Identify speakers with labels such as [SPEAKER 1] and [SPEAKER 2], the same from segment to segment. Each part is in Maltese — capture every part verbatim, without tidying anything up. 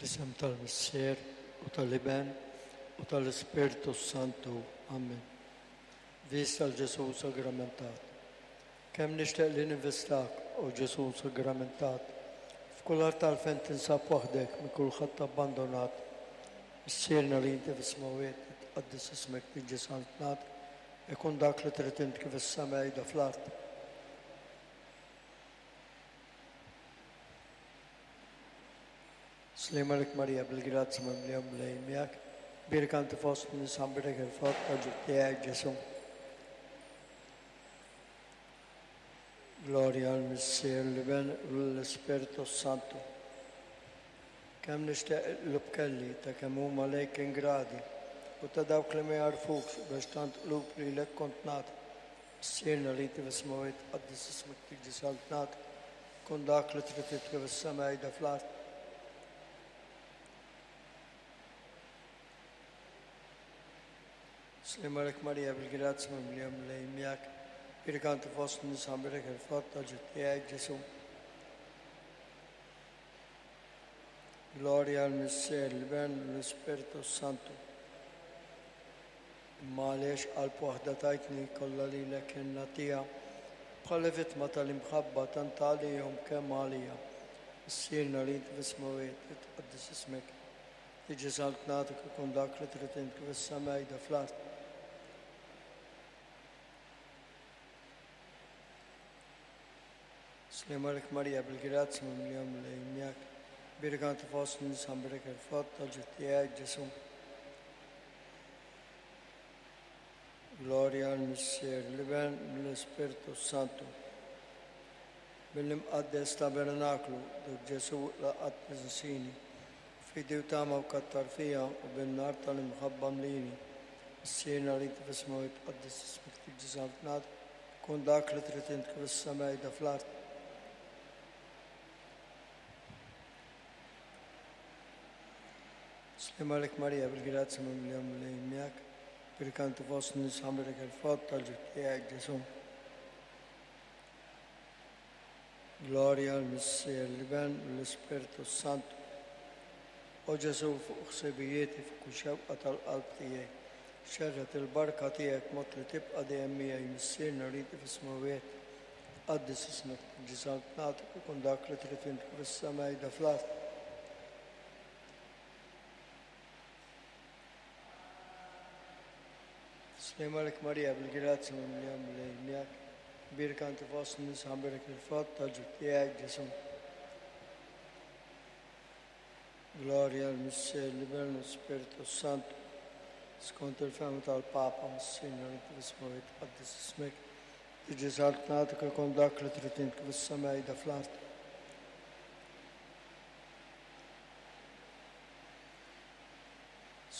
[SPEAKER 1] Fl-isem tal-Missier u tal-Iben u tal-Ispirtu Santu. Amen. Vista l-Ġesu sagramentat. Kemm nixtieq li ninvistak, o Ġesu sagramentat, f'kull art tal-fejn tinsab waħdek minn kulħadd abbandonat. Missierna li inti fis-smewwiet, tqaddes ismek, tiġi saltnat, ikun dak li trid int kif is-sema jda fl-art. Slim għalik Marija bil-grazzja mimlija Mulej miegħek, bierek inti fost nisa mbierek il-frott ta' ġuf tiegħek Ġesu. Glorja għal Missier, l-Iben u l-Ispirtu Santu. Kemm nixtieq qlub kelli ta' kemm huma lejk ingradi u ta' dawk li ma jarfukx biex tant qlub lilek kont nagħti. Missierna li inti fis-smewwiet, tqaddes ismek, tiġi saltnat, kun dak li trid int kif is-sema jda fl-art. Slim għalik Marija bil-grazzja mimlija Mulej miegħek, bierek inti fost nisa mbierek il-frott ta' ġuf tiegħek Ġesu. Glorja għal Missier, l-Iben u l-Ispirtu Santu. Imma għaliex qalb waħda tajtni kollha lilek jien nagħtiha, bħala vittma tal-imħabba tant għalihom kemm għalija. Missierna li inti fis-smewwiet, tqaddes ismek, tiġi saltnatek ikun dak li trid int kif is-sema jda fl-art. Slim għalik Marija bil-grazzja mimlija Mulej miegħek, bierek inti fost nisa mbierek il-frott ta' ġuf tiegħek Ġesu. Glorja għal Missier, l-Iben u l-Ispirtu Santu. Bil-imqaddes tabernaklu, dak Ġesu laqat ninsini, fidi u tama u kattar fija u bin-nar tal-imħabba mlini. Missierna li inti fis-smewwiet, tqaddes ismek, tiġi saltnat, kun dak li trid int kif is-sema jda fl-art. Slim għalik Marija bil-grazzja mimlija Mulej miegħek, bierek inti fost nisa mbierek il-frott tal-ġuf tiegħek Ġesu. Glorja għal Missier, l-Iben u l-Ispirtu Santu. O Ġesu, fuq ħsibijieti, fuq kull xewqa tal-qalb tiegħi, xerred il-barka tiegħek mod li tibqa' dejjem miegħi. Missierna li inti fis-smewwiet, tqaddes ismek, tiġi saltnatek, ikun dak li trid int kif is-sema jda fl-art. Slim għalik Marija bil-grazzja mimlija Mulej miegħek, bierek inti fost nisa mbierek il-frott tal-ġuf tiegħek Ġesu. Glorja għal Missier, l-Iben u l-Ispirtu Santu. Skont il-fehma tal-Papa, Missierna li inti fis-smewwiet, tqaddes ismek, tiġi saltnatek, ikun dak li trid int kif is-sema jda fl-art.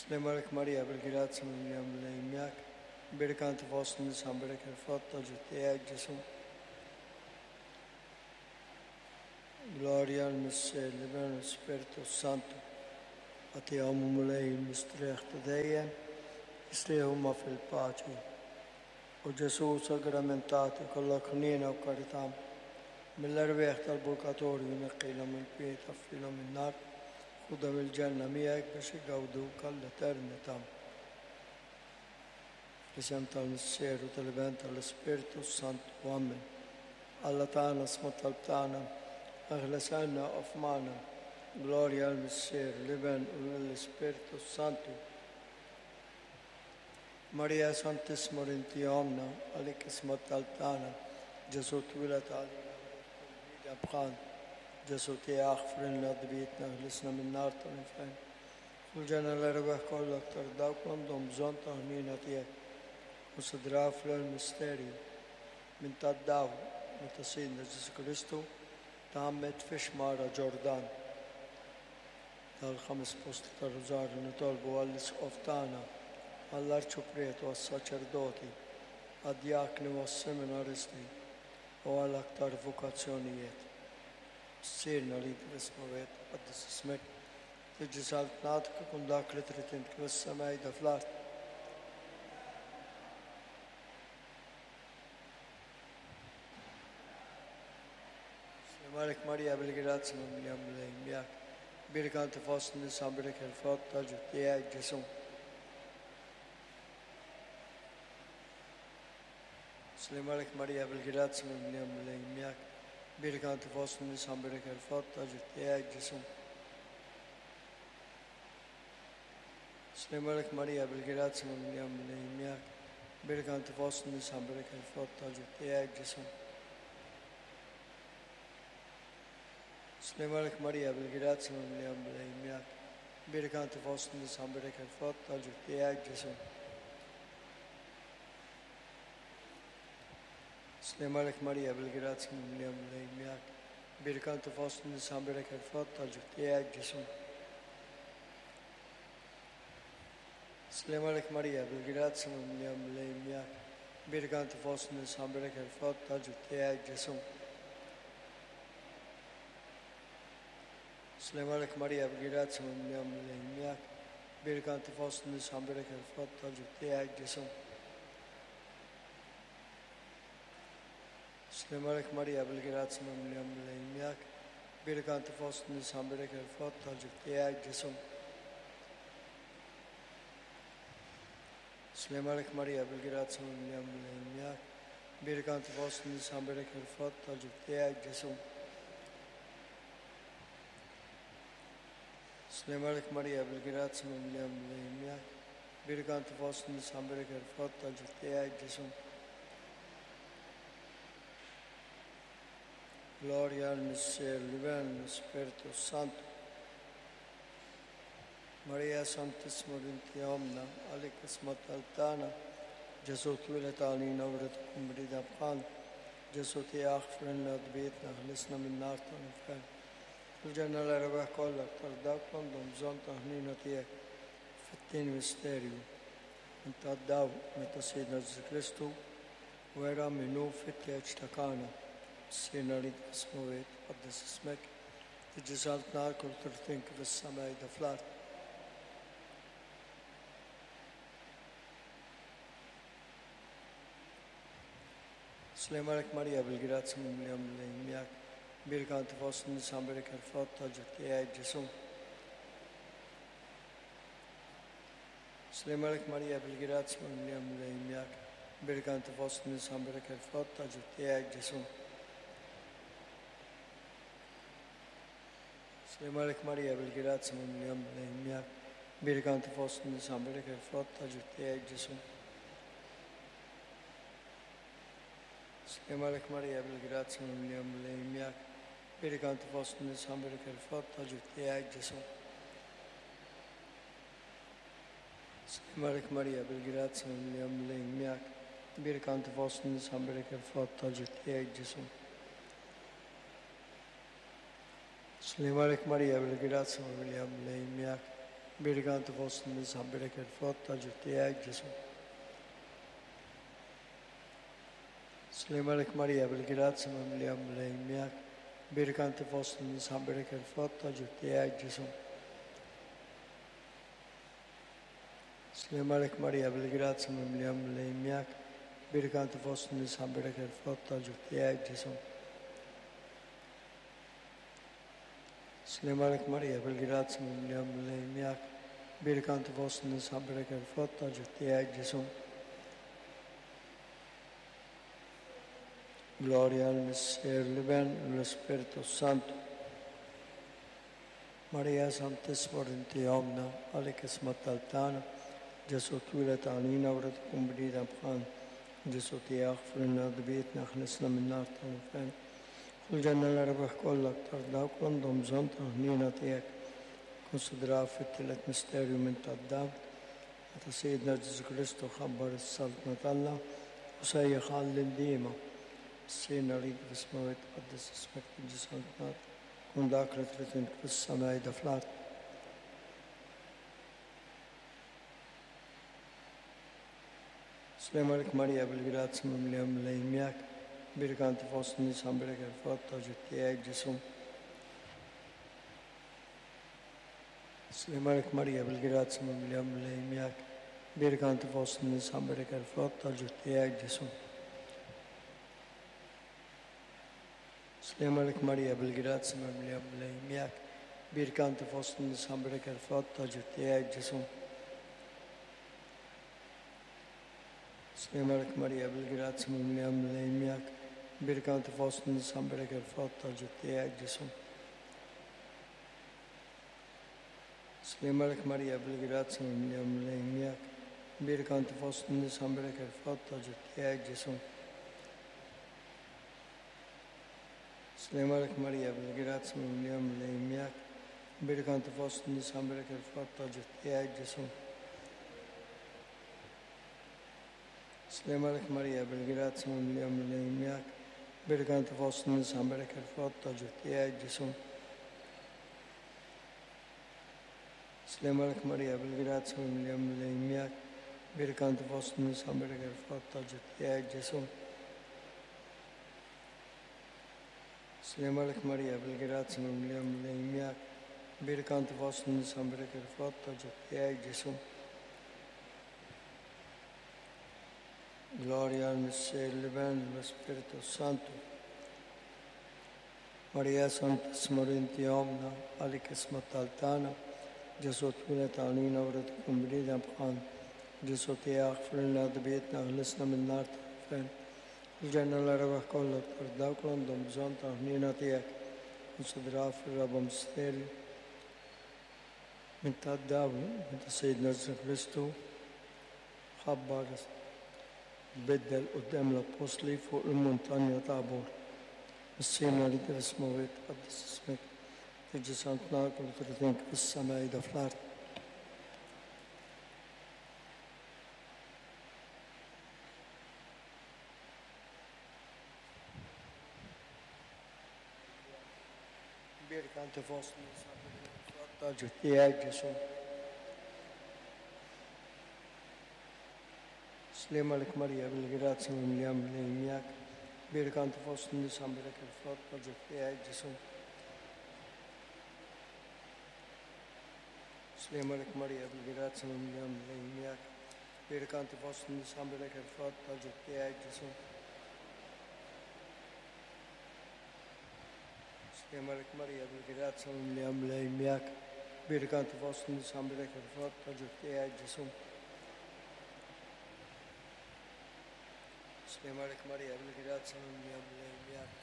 [SPEAKER 1] Slim għalik Marija bil-grazzja mimlija Mulej miegħek, bierek inti fost nisa mbierek il-frott tal-ġuf tiegħek Ġesu. Glorja għal Missier, l-Iben u l-Ispirtu Santu. Agħtihom Mulej il-mistrieħ ta' dejjem, jistrieħu huma fil-paċi. O Ġesu sagramentati, kollok ħniena u karità, mill-erwieħ tal-purgatorju neqqilhom il-kwiet, taffilhom in-nar, ħudhom il-ġenna miegħek biex igawduk għall-eternità. Fl-isem tal-Missier u tal-Iben tal-Ispirtu Santu. Amen. Alla tagħna, sma' talb tagħna, eħles għandna u f'magħna. Glorja għal Missier, l-Iben u l-Ispirtu Santu. Marija Santissima inti ommna, għalik isma' talb tagħna. Ġesu twieled għalina bħal. Ġesu tiegħek aħfrilna dnubietna, ħlisna min-nar tal-infern. U l-ġenna l-erwieħ kollha aktar dawk għandhom bżonn ta' ħniena tiegħek. Konsidraw fl-misterju minn tad-dawl meta Sidna Ġesu Kristu tgħammed fix-xmara Ġordan. Tal-ħames posti tar-Rużarju nitolbu għall-Isqof tagħna, għall-Arċipriet u għas-saċerdoti, għad-djakni u għas-seminaristi u għal aktar vokazzjonijiet. Missierna li inti fis-smewwiet, tqaddes ismek, tiġi saltnatek, ikun dak li trid int kif is-sema jda fl-art. Slim għalik Marija bil-grazzja mimlija Mulej miegħek, Mberka inti fost in-nisa, mberek il-frott tal-ġuf tiegħek, Ġesù. Slim għalik Marija bil-grazzja mimlija Mulej miegħek. Mberka inti fost in-nisa, mberek il-frott tal-ġuf tiegħek, Ġesù. Slim għalik Marija bil-grazzja mimlija Mulej miegħek. Mberka inti fost in-nisa, mberek il-frott tal-ġuf tiegħek, Ġesù. Slim għalik Marija bil-grazzja mimlija Mulej miegħek. Mberka inti fost in-nisa, mberek il-frott tal-ġuf tiegħek, Ġesù. Slim għalik Marija bil-grazzja mimlija Mulej miegħek. Mberka inti fost in-nisa, mberek il-frott tal-ġuf tiegħek, Ġesù. Slim għalik Marija bil-grazzja mimlija Mulej miegħek. Mberka inti fost in-nisa, mberek il-frott tal-ġuf tiegħek, Ġesù. Slim għalik Marija bil-grazzja mimlija Mulej miegħek. Mberka inti fost in-nisa, mberek il-frott tal-ġuf tiegħek, Ġesù. Slim għalik Marija bil-grazzja mimlija Mulej miegħek. Mberka inti fost in-nisa, mberek il-frott tal-ġuf tiegħek, Ġesù. Slim għalik Marija bil-grazzja mimlija Mulej miegħek. Mberka inti fost in-nisa, mberek il-frott tal-ġuf tiegħek, Ġesù. Slim għalik Marija bil-grazzja mimlija Mulej miegħek. Mberka inti fost in-nisa, mberek il-frott tal-ġuf tiegħek, Ġesù. Gloria al Missier, l-Iben, l-Spiritu Santu. Maria Santissima binti Omna, għalik isma tal-tana, Ġesù twieled għalina u rrid tkun brida bħal. Ġesù tiegħek frinna dbietna, ħlisna min-nar tal-infern. Il-ġenna l-erbaħ kollha aktar dawk għandhom bżonn ta' ħnina tiegħek. Fit-tieni misterju, inta daw meta Sidna Ġesù Kristu wera minnu fit-tieġ ta' Kana. Sirna li ismuwiet, qaddis ismek, tiġi saltna kull turtin kif is-sema jda fl-art. Slim għalik Marija bil-grazzja mimlija Mulej miegħek. Mberka inti fost in-nisa, mberek il-frott tal-ġuf tiegħek, Ġesù. Slim għalik Marija bil-grazzja mimlija Mulej miegħek. Mberka inti fost in-nisa, mberek il-frott tal-ġuf tiegħek, Ġesù. Slim għalik Marija bil-grazzja mimlija Mulej miegħek. Mberka inti fost in-nisa, mberek il-frott tal-ġuf tiegħek, Ġesù. Slim għalik Marija bil-grazzja mimlija Mulej miegħek. Mberka inti fost in-nisa, mberek il-frott tal-ġuf tiegħek, Ġesù. Slim għalik Marija bil-grazzja mimlija Mulej miegħek. Mberka inti fost in-nisa, mberek il-frott tal-ġuf tiegħek, Ġesù. Slim għalik Marija bil-grazzja mimlija Mulej miegħek. Mberka inti fost in-nisa, mberek il-frott tal-ġuf tiegħek, Ġesù. Slim għalik Marija bil-grazzja mimlija Mulej miegħek. Mberka inti fost in-nisa, mberek il-frott tal-ġuf tiegħek, Ġesù. Slim għalik Marija bil-grazzja mimlija Mulej miegħek. Mberka inti fost in-nisa, mberek il-frott tal-ġuf tiegħek, Ġesù. Slim għalik Marija bil-grazzja mimlija Mulej miegħek. Mberka inti fost in-nisa, mberek il-frott tal-ġuf tiegħek, Ġesù. Gloria al Missier, l-Iben, l-Ispiritu Santu. Maria Santissima inti Omna, għalik isma tal-tana, Ġesù twieled għalina u rrid tkun brida bħal. Ġesù tiegħek frinna dbietna, ħlisna min-nar tal-infern. Kull ġenna l-erbaħ kollha aktar dawk għandhom bżonn ta' ħniena tiegħek. Konsidraw fit-tielet misterju minn tad-dawl, meta Sidna Ġesù Kristu ħabbar is-saltna t'Alla u sejjaħ għall-indiema. Sirna li fis-smawet qaddis ismek tiġi saltnat, kun dak li trid int fis-sema jda fl-art. Slim għalik Marija bil-grazzja mimlija Mulej miegħek. Mberka inti fost in-nisa, mberek il-frott tal-ġuf tiegħek, Ġesù. Slim għalik Marija bil-grazzja mimlija Mulej miegħek. Mberka inti fost in-nisa, mberek il-frott tal-ġuf tiegħek, Ġesù. Slim għalik Marija bil-grazzja mimlija Mulej miegħek. Bierka inti fost in-nisa mberek il-frott tal-ġuf tiegħek Ġesù. Slim għalik Marija bil-grazzja mimlija Mulej miegħek. Bierka inti fost in-nisa mberek il-frott tal-ġuf tiegħek Ġesù. Slim għalik Marija bil-grazzja mimlija Mulej miegħek. Bierka inti fost in-nisa mberek il-frott tal-ġuf tiegħek Ġesù. Slim għalik Marija bil-grazzja mimlija Mulej miegħek. Bierka inti fost in-nisa mberek il-frott tal-ġuf tiegħek Ġesù. Slim għalik Marija bil-grazzja mimlija Mulej miegħek. Bierka inti fost in-nisa mberek il-frott tal-ġuf tiegħek Ġesù. Slim għalik Marija bil-grazzja mimlija Mulej miegħek. Bierka inti fost in-nisa mberek il-frott tal-ġuf tiegħek Ġesù. Slim għalik Marija bil-grazzja mimlija Mulej miegħek. Bierka inti fost in-nisa mberek il-frott tal-ġuf tiegħek Ġesù. Gloria al Missier, l-Iben, l-Spiritu Santu. Maria Santissima inti omna, għalik isma tal-tana, Ġesù twieled għalina u rrid ikun bniedem bħalna. Ġesù tiegħek frilna dbietna ħlisna min-nar tal-infern. Il-ġenna l-erbaħ kollha aktar dawk li għandhom bżonn ta' ħniena tiegħek. Konsidraw fir-raba' misterju minn tad-dawl minn ta' Sejdna Ġesù Kristu ħabbar tbiddel quddiem l-Appostli fuq il-muntanja Tabor. Missierna li fis-smewwiet, tqaddes ismek, tiġi saltnak u tridink fis-sema qiegħda fl-art. Bierka inti fost in-nisa frott tal-ġuf tiegħek Ġesù. Slim għalik Marija bil-grazzja mimlija Mulej miegħek. Bierka inti fost in-nisa mberek il-frott tal-ġuf tiegħek Ġesù. Slim għalik Marija bil-grazzja mimlija Mulej miegħek. Bierka inti fost in-nisa mberek il-frott tal-ġuf tiegħek Ġesù. Slim għalik Marija bil-grazzja mimlija Mulej miegħek. Bierka inti fost in-nisa mberek il-frott tal-ġuf tiegħek Ġesù. Slim għalik Marija bil-grazzja mimlija Mulej miegħek.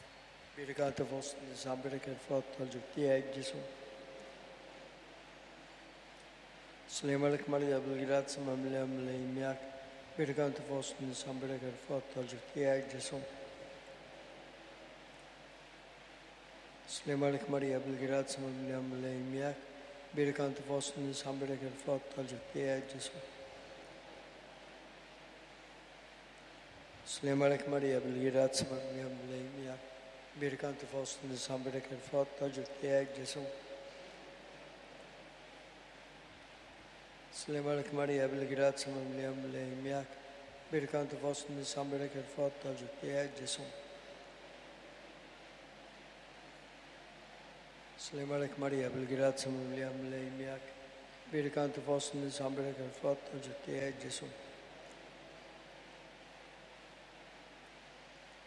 [SPEAKER 1] Bierka inti fost in-nisa mberek il-frott tal-ġuf tiegħek Ġesù. Slim għalik Marija bil-grazzja mimlija Mulej miegħek. Bierka inti fost in-nisa mberek il-frott tal-ġuf tiegħek Ġesù. Slim għalik Marija bil-grazzja mimlija Mulej miegħek. Bierka inti fost in-nisa mberek il-frott tal-ġuf tiegħek Ġesù. Slim għalik Marija bil-grazzja mimlija Mulej miegħek. Bierka inti fost in-nisa mberek il-frott tal-ġuf tiegħek Ġesù. Slim għalik Marija bil-grazzja mimlija Mulej miegħek. Bierka inti fost in-nisa mberek il-frott tal-ġuf tiegħek Ġesù. Slim għalik Marija bil-grazzja mimlija Mulej miegħek. Bierka inti fost in-nisa mberek il-frott tal-ġuf tiegħek Ġesù.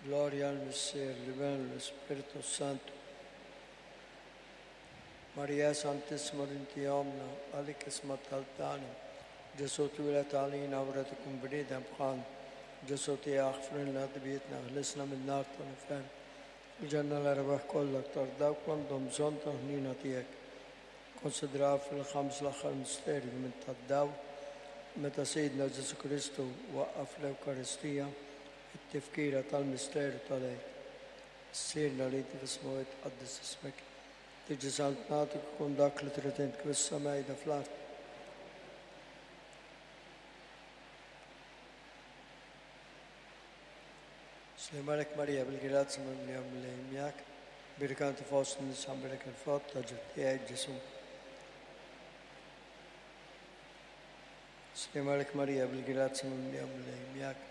[SPEAKER 1] Gloria al Missier, l-Iben, l-Spiritu Santu. Maria Santissima inti omna, għalik isma tal-tana. Ġesù twieled għalina u rrid ikun bniedem bħalna. Ġesù tiegħek frilna dbietna, ħlisna min-nar tal-infern. Il-ġenna l-erbaħ kollha aktar dawk li għandhom bżonn ta' ħniena tiegħek. Konsidraw fil-ħams l-aħħar misterju minn tad-dawl meta Sejdna Ġesù Kristu waqqaf l-Ewkaristija it-tifkira tal-misteru tal-Għid. Missierna li inti fis-smewwiet, tqaddes ismek, tiġi saltnatek ikun dak li trid int kif is-sema qiegħda fl-art. Slim għalik Marija bil-grazzja mimlija Mulej miegħek. Bierka inti fost in-nisa mberek il-frott tal-ġuf tiegħek Ġesù. Slim għalik Marija bil-grazzja mimlija Mulej miegħek.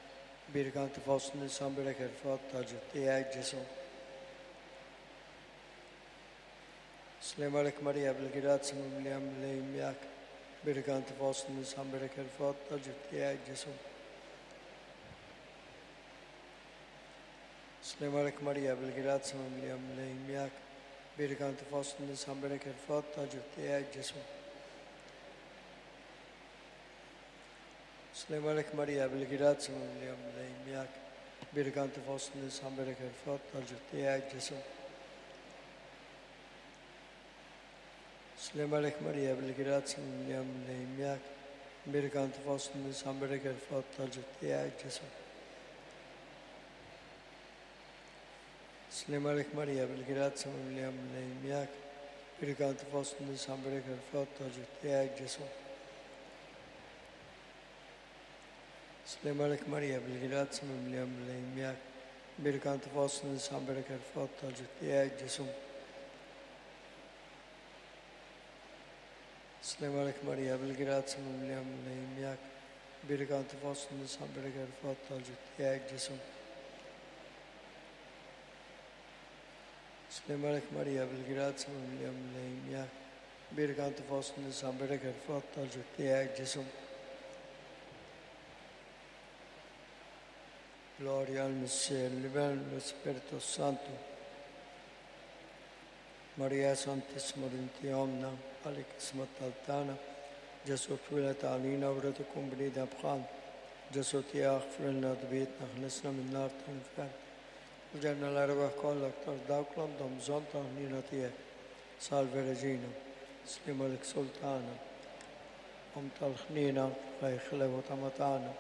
[SPEAKER 1] Bierka inti fost in-nisa mberek il-frott tal-ġuf tiegħek Ġesù. Slim għalik Marija bil-grazzja mimlija Mulej miegħek. Bierka inti fost in-nisa mberek il-frott tal-ġuf tiegħek Ġesù. Slim għalik Marija bil-grazzja mimlija Mulej miegħek. Bierek inti fost in-nisa, mbierek il-frott tal-ġuf tiegħek, Ġesù. Sliem għalik Marija, bil-grazzja mimlija Mulej miegħek. Bierek inti fost in-nisa, mbierek il-frott tal-ġuf tiegħek, Ġesù. Sliem għalik Marija, bil-grazzja mimlija Mulej miegħek. Bierek inti fost in-nisa, mbierek il-frott tal-ġuf tiegħek, Ġesù. Sliem għalik Marija, bil-grazzja mimlija Mulej miegħek. Bierek inti fost in-nisa, mbierek il-frott tal-ġuf tiegħek, Ġesù. Sliem għalik Marija, bil-grazzja mimlija Mulej miegħek. Bierek inti fost in-nisa, mbierek il-frott tal-ġuf tiegħek, Ġesù. Sliem għalik Marija, bil-grazzja mimlija Mulej miegħek. Bierek inti fost in-nisa, mbierek il-frott tal-ġuf tiegħek, Ġesù. Sliem għalik Marija, bil-grazzja mimlija Mulej miegħek. Bierek inti fost in-nisa, mbierek il-frott tal-ġuf tiegħek, Ġesù. Gloria al Missier, l-Iben, l-Ispirtu Santu. Marija Santissima inti omna, għalik isma tal-tana. Ġesù twieled għalina u rrid ikun bniedem bħal. Ġesù tiegħek frilna dbietna, ħlisna min-nar tal-infern. U ġenna l-erwieħ kollha aktar dawk li għandhom bżonn ta' ħniena tiegħek. Salve Reġina, sliem għalik Sultana, Omm tal-ħniena, ħajħlew ta' matana.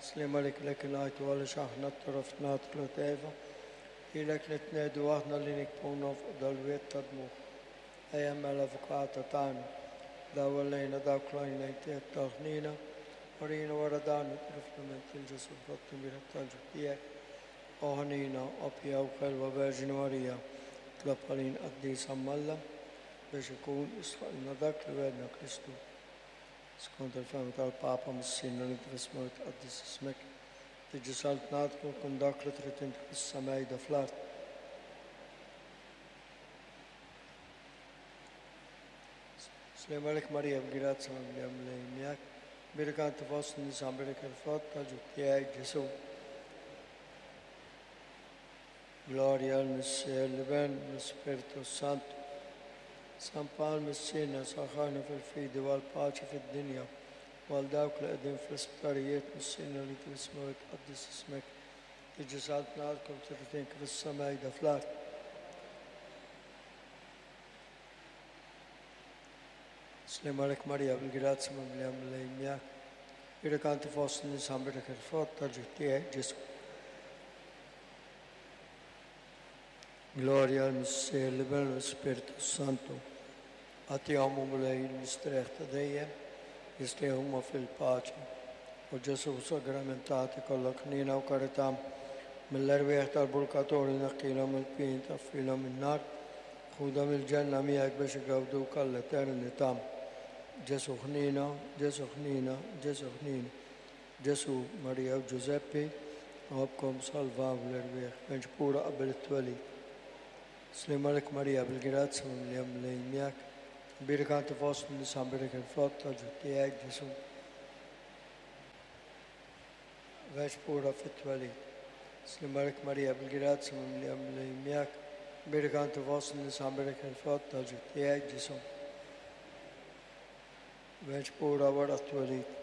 [SPEAKER 1] Sliem għalik lek ngħidu għaliex aħna t-torof nagħtu Eva, ilek nitnedu aħna li nikpunu fuq dal-wied ta' dmugħ. Ejja mela avukata tagħna, dawwal lejna dawk l-għajnejn tiegħek tal-ħniena, urina wara dan it-trifna minn til Ġesù frott imbierek tal-ġuf tiegħek. O ħanina, o pia u ħelwa Verġni Marija, tlob għalin qaddisa Alla biex ikun jistħoqqilna dak li wegħedna Kristu. Skont il-fehma tal-Papa Missierna li inti fis-smewwiet tqaddis ismek, tiġi saltnatek u jkun dak li trid inti fis-sema fl-art. Sliem għalik Marija, b'grazzja mimlija Mulej miegħek. Bierek inti fost in-nisa, mbierek il-frott tal-ġuf tiegħek, Ġesù. Gloria al Missier, l-Iben, l-Ispirtu Santu. San Pawl Missierna saħħarna fil-fidi u għall-paċi fid-dinja u għal dawk li qegħdin fl-isptarijiet Missierna li fis-smewwiet tqaddis ismek, tiġi saltnatek u trid inti fis-sema fl-art. Sliem għalik Marija, bil-grazzja mimlija Mulej miegħek. Bierek inti fost in-nisa, mbierek il-frott tal-ġuf tiegħek, Ġesù. Gloria al Missier, l-Iben u l-Ispirtu Santu. Agħtihom Mulej il-mistrieħ ta' dejjem, jistrieħu huma fil-paċi. U Ġesù sagramentati kollok ħniena u karità mill-erwieħ tal-purgatorju neħħilhom il-pien taffilhom in-nar, ħudha mill-ġenna miegħek biex igawduk għall-eternità. Ġesù ħniena, Ġesù ħniena, Ġesù ħniena. Ġesù, Marija u Ġużeppi, nħobbkom salvaw l-erwieħ, miġbura qabel it-twelid. Sliem għalik Marija, bil-grazzja mimlija Mulej miegħek. Bierek inti fost in-nisa, mbierek il-frott tal-ġuf tiegħek, Ġesù. Verġni pura fit-twelid. Sliem għalik Marija, bil-grazzja mimlija Mulej miegħek. Bierek inti fost in-nisa, mbierek il-frott tal-ġuf tiegħek, Ġesù. Verġni pura wara t-twelid.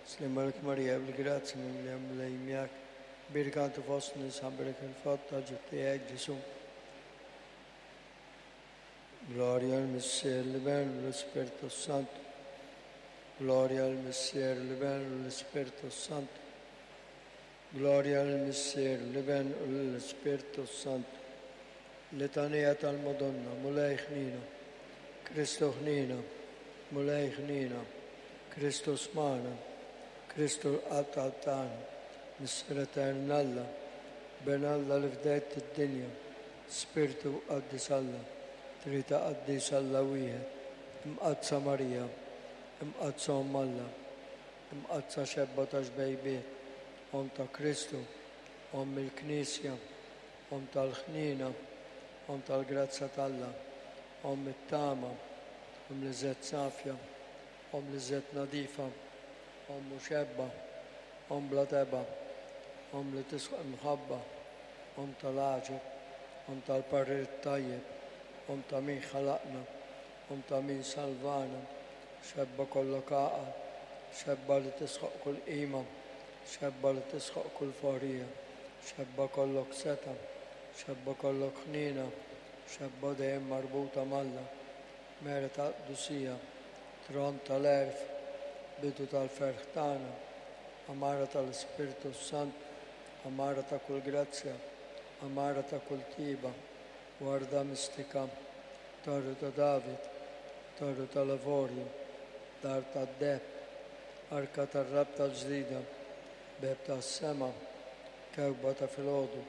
[SPEAKER 1] Sliem għalik Marija, bil-grazzja mimlija Mulej miegħek. Bierek inti fost in-nisa, mbierek il-frott tal-ġuf tiegħek, Ġesù. Gloria al Missier, l-Iben u l-Ispirtu Santu. Gloria al Missier, l-Iben u l-Ispirtu Santu. Gloria al Missier, l-Iben u l-Ispirtu Santu. Litanija tal-Madonna, Mulej ħnina, Kristu ħnina, Mulej ħnina, Kristu smana, Kristu l-qalb tal-tagħna, Missier Etern Alla, Ben Alla li fdejt id-dinja, Spirtu Qaddis Alla, Trinità Qaddis Alla wieħed, Imqaddsa Marija, Imqaddsa Omm Alla, Imqaddsa xebba ta' xbejbiet, Omm ta' Kristu, Omm il-Knisja, Omm tal-ħniena, Omm tal-grazzja t'Alla, Omm it-tama, Omm li żed safja, Omm li żed nadifa, Omm xebba, Omm bla teba, Omm li tisħaq imħabba, Omm tal-għaġeb, Omm tal-parir tajjeb, Omm ta' min ħalaqna, Omm ta' min salvana, xebba kollok għaqal, xebba li tisħoq kull qima, xebba li tisħoq kull forija, xebba kollok seta, xebba kollok ħnina, xebba dejjem marbuta m'Alla, mera ta' qdusija, tron tal-għerf, bidu tal-ferħ tagħna, għamara tal-Ispirtu s-Sant, għamara ta' kull grazzja, għamara ta' kull tiba, warda mistika, torru ta' David, torru tal-avorju, dar tad-deheb, arka tar-rabta l-ġdida, beb tas-sema, kewkba ta' filgħodu,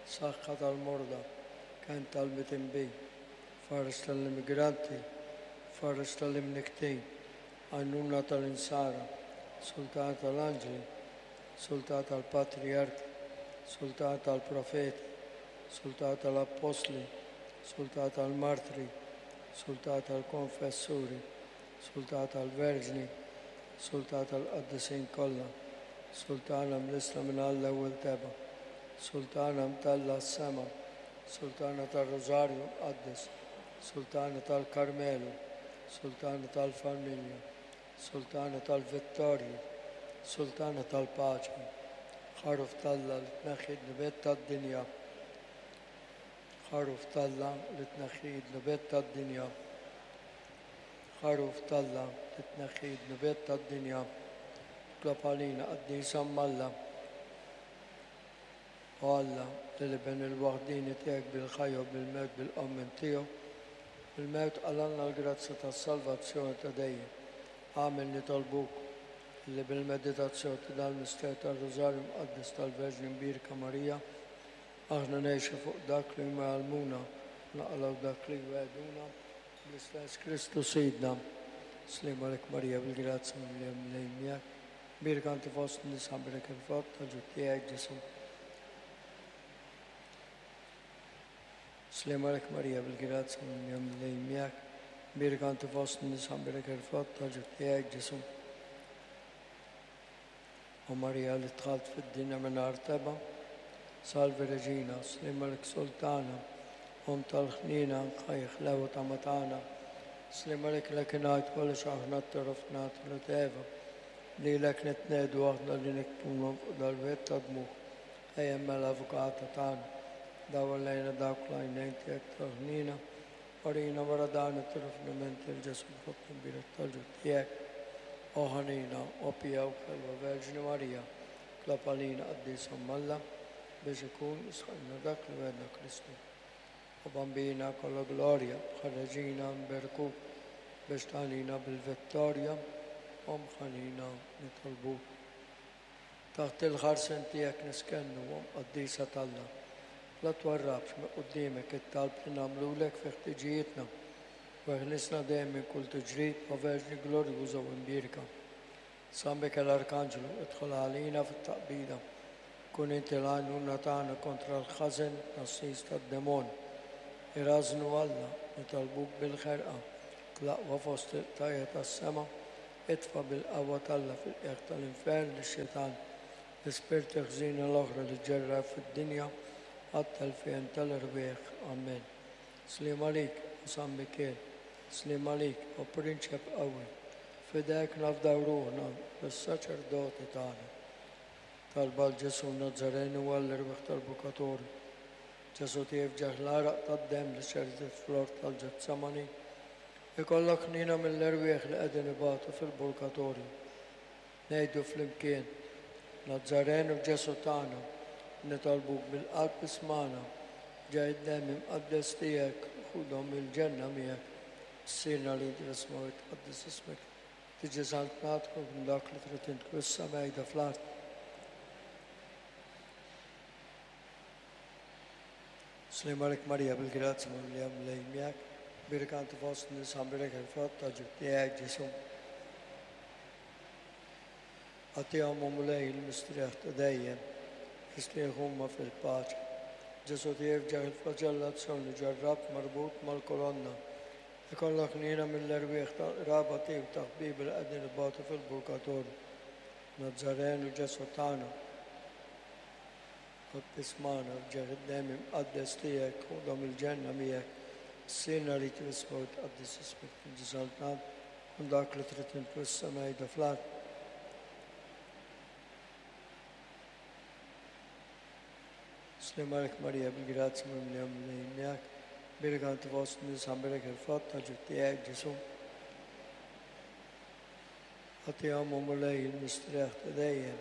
[SPEAKER 1] saħħa tal-morda, kenn tal-mitinbin, fares tal-immigranti, fares tal-imniktin, għajnuna tal-insara, sultan tal-anġli, sultan tal-patriarki, sultan tal-profeti, sultan tal-appostli, sultan tal-martri, sultan tal-konfessuri, sultan tal-verġni, sultan tal-qaddisin kollha, sultana mlisla minn Alla ewwel teba, sultana mtella s-sema, sultana tar-Rożarju mqaddes, sultana tal-Karmelu, sultana tal-familja, sultana tal-vittorji, sultana tal-paċi, ħaruf t'Alla li tneħħi d-dnubiet tad-dinja, ħaruf t'Alla li tneħħi d-dnubiet tad-dinja, ħaruf t'Alla li tneħħi d-dnubiet tad-dinja, itlob għalina qaddisa m'Alla. O Alla, li l-Iben il-waħdini tiegħek bil-ħajja u bil-mewt bil-qawmien tiegħu, bil-mewt qalgħalna l-grazzja tas-salvazzjoni ta' dejjem. Agħmel nitolbuk li bil-meditazzjoni ta' dan il-misteru tar-Rożarju Mqaddes tal-Verġni Mbierka Marija, aħna ngħixu fuq dak li huma jgħallmuna, naqalgħu dak li jwegħduna bl-istess Kristu Sidna. Slim għalik Marija bil-grazzja mimlija Mulej miegħek. Mbierka inti fost in-nisa mbrek il-frott tal-ġuf tiegħek Ġesù. Slim għalik Marija bil-grazzja mimlija Mulej miegħek. Mbierka inti fost in-nisa mbrek il-frott tal-ġuf tiegħek Ġesù. O Marija li dħalt fid-dinja mingħajr teba, Salve Reġina, slim għalik Sultana, Omm tal-ħnina, ħaj ħlewa ta' matana, slim għalik lek ingħid kollox aħna t-taraf nagħtu Eva, lilek nitnedu aħna li nikbuna fuq dal-wied ta' dmugħ, ejja mela avukata tagħna, dawwar lejna dawk l-għajnejn tiegħek tal-ħnina, orina wara dan it-tarafnament il-Ġesù frott imbierek tal-ġuf tiegħek. O ħanina, o pija u ħelwa Verġni Marija, itlob għalina qaddisa m'Alla, biex ikun isħaqna dak li wegħedna Kristu. O Bambina kollha glorja, bħal Reġina nberkuk biex tagħnina bil-vittorja, Omm ħanina nitolbuk. Taħt il-ħarsien tiegħek niskennu, Omm qaddisa t'Alla. La twarrabx minn quddiemek it-talb li nagħmlulek fi ħtiġijietna, u eħlisna dejjem minn kull tiġrib, o Verġni glorjuża u mbierka. San Mikiel Arkanġlu, idħol għalina fit-taqbida. Kun inti l-għajnuna tagħna kontra l-ħażen nassis tad-demon. Irażnu Alla, nitolbuk bil-ħerqa, l-aqwa fost il-qtajja tas-sema, itfa' bil-qawwa t'Alla fil-qiegħ tal-infern lix-xitan, l-ispirti ħżiena l-oħra li ġerra fid-dinja għat-telfien tal-erwieħ. Amen. Slim għalik, o San Mikiel, slim għalik, o Prinċep qawwi, fidejk nafdaw ruħna bis-saċerdoti tagħna. Talba għal Ġesù Nazzarenu għall-erwieħ tal-Purgatorju. Ġesù tiegħi f'ġieħ l-għaraq tad-demm li xerdet fl-ort tal-Ġetsemani, ikollok ħnina mill-erwieħ li qegħdin ibatu fil-Purgatorju. Ngħidu flimkien, Nazzarenu Ġesù tagħna, nitolbuk bil-qalb ismana, ġej id-demm imqaddes tiegħek, ħudhom il-ġenna miegħek. Missierna li inti fis-smewwiet tqaddes ismek, tiġi saltnatek u kun dak li trid int issa mejda fl-art. Slim għalik Marija bil-grazzja mimlija Mulej miegħek, mbierka inti fost in-nisa mbrek il-frott tal-ġuf tiegħek Ġesù. Agħtihom o Mulej il-mistrieħ ta' dejjem, jistrieħ huma fil-paċi. Ġesù tiegħi f'ġieħ il-flaġellazzjoni ġarrab marbut mal-kolonna. Ikollok ħnina mill-erwieħ tal-qraba tiegħu ta' ħbieb li qegħdin ibatu fil-Purgatorju. Nazzarenu Ġesù tagħna, Qalb ismana f'ġieħ id-demm imqaddes tiegħek, ħudhom il-ġenna miegħek. Sirna li trisma u tqaddis ismek tiġi saltan, kun dak li trid int fis-sema jda fl-art. Slim għalik Marija, bil-grazzja mimlija Mulej miegħek, Birek inti fost in-nisa, mbierek il-frott ta' ġuf tiegħek, Ġesù. Agħtihom, o Mulej, il-mistrieħ ta' dejjem,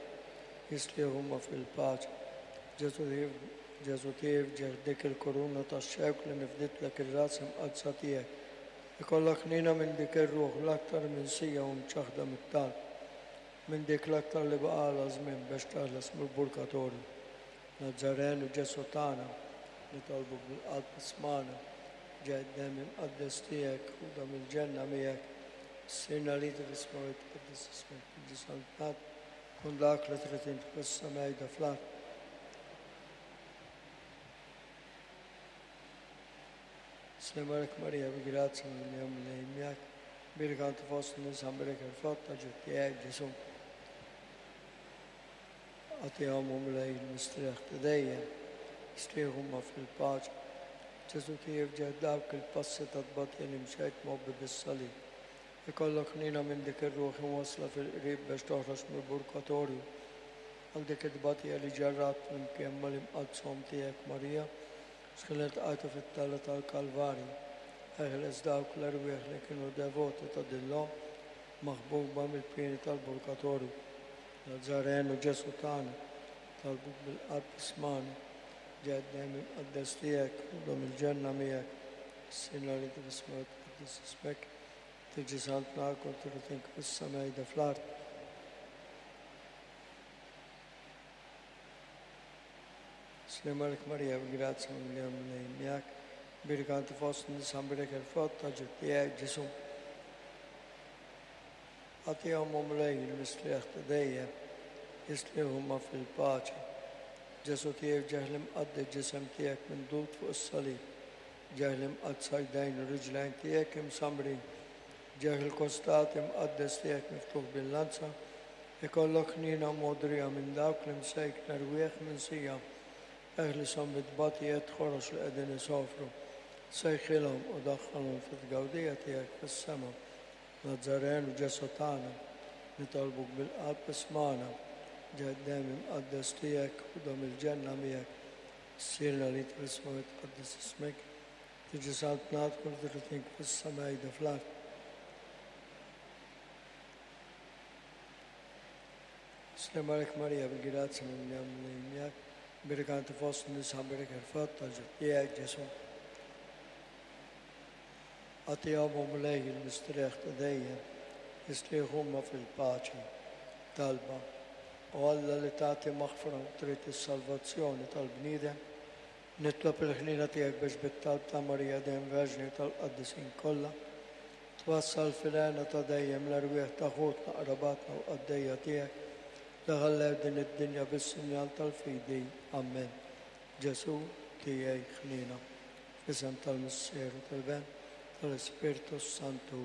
[SPEAKER 1] jistrieħu huma fil-paċi. Ġesù Ġesù tiegħi ġieħ dik il-kuruna tax-xewk li nifditlek ir-ras imqaddsa tiegħek. Ikollok ħniena minn dik ir-ruħ l-aktar minsija u mċaħħda mit-talb, minn dik l-aktar li baqgħalha żmien biex teħles mill-purgatorju. Nazzarenu Ġesù tagħna, nitolbu bil-qalb ismagħna, ġej id-demm imqaddes tiegħek u dam il-ġenna miegħek. Sirna li tifisma u tqaddes ismek tiġi saltat, kun dak li trid int fis-sema jda fl-art. Slim għalik Marija, bi grazzja mimlija Mulej miegħek, Birek inti fost in-nisa, mbierek il-frott ta' ġuf tiegħek, Ġesù. Agħtihom, o Mulej, il-mistrieħ ta' dejjem, jistrieħu huma fil-paċi. Ġesù tiegħi f'ġieħ dawk il-passi ta' tbatija li mxejt mgħobbi bis-salib. Ikollok ħniena minn dik ir-ruħ imwassla fil-qrib biex toħroġ mill-purgatorju. Għal dik it-tbatija li ġarrabt flimkien mal-imqaddsa Omm tiegħek Marija, x'kien iltqajtu fit-tella tal-Kalvarju. Eħles dawk l-erwieħ li kienu devoti ta' din l-omm maħbuba mill-pieni tal-purgatorju. Nazzarenu Ġesù tagħna, talbuk bil-qalb ismagħna, ġej id-demm imqaddes tiegħek u dom il-ġenna miegħek. Sirna li tifisma u tqaddes ismek, tiġi saltna kull trid int fis-sema jda fl-art. Slim għalik Marija, bil-grazzja mimlija Mulej miegħek, Birek inti fost in-nisa, mbierek il-frott ta' ġuf tiegħek, Ġesù. Agħtihom, o Mulej, il-mistrieħ ta' dejjem, jistrieħu huma fil-paċi. Ġesù tiegħi f'ġieħ l-imqaddes ġisem tiegħek mindud fuq is-salib, ġieħ l-imqaddsa jdejn u riġlejn tiegħek imsamrin, ġieħ il-kostat imqaddes tiegħek miftuħ bil-lanza, ikollok ħniena mogħdrija minn dawk li msejkna rwieħ minsija, eħlishom bit-tbatijiet ħorox li qegħdin isofru, sejħilhom u daħħalhom fit-tgawdija tiegħek fis-sema. Nazzarenu Ġesù tagħna, nitolbuk bil-qalb ismagħna, ġej id-demm imqaddes tiegħek u dom il-ġenna miegħek. Sirna li tfisma u tqaddes ismek, tiġi saltnat kull trid int fis-sema jda fl-art. Slim għalik Marija, bil-grazzja mimlija Mulej miegħek, Birek inti fost in-nisa, mbierek il-frott ta' ġuf tiegħek, Ġesù. Agħtihom, o Mulej, il-mistrieħ ta' dejjem, jistrieħu huma fil-paċi. Talba. O Alla li tagħti maħfra u trid is-salvazzjoni tal-bniedem, nitlob il-ħniena tiegħek biex bit-talb ta' Marija dejjem Verġni tal-qaddisin kollha, twassal fil-hena ta' dejjem l-erwieħ ta' ħutna, qrabatna u qaddejja tiegħek li ħallew din id-dinja bis-sinjal tal-fidi. Amen. Ġesù tiegħi ħniena. F'isem tal-Missier u tal-Ben, tal-Ispirtu Santu.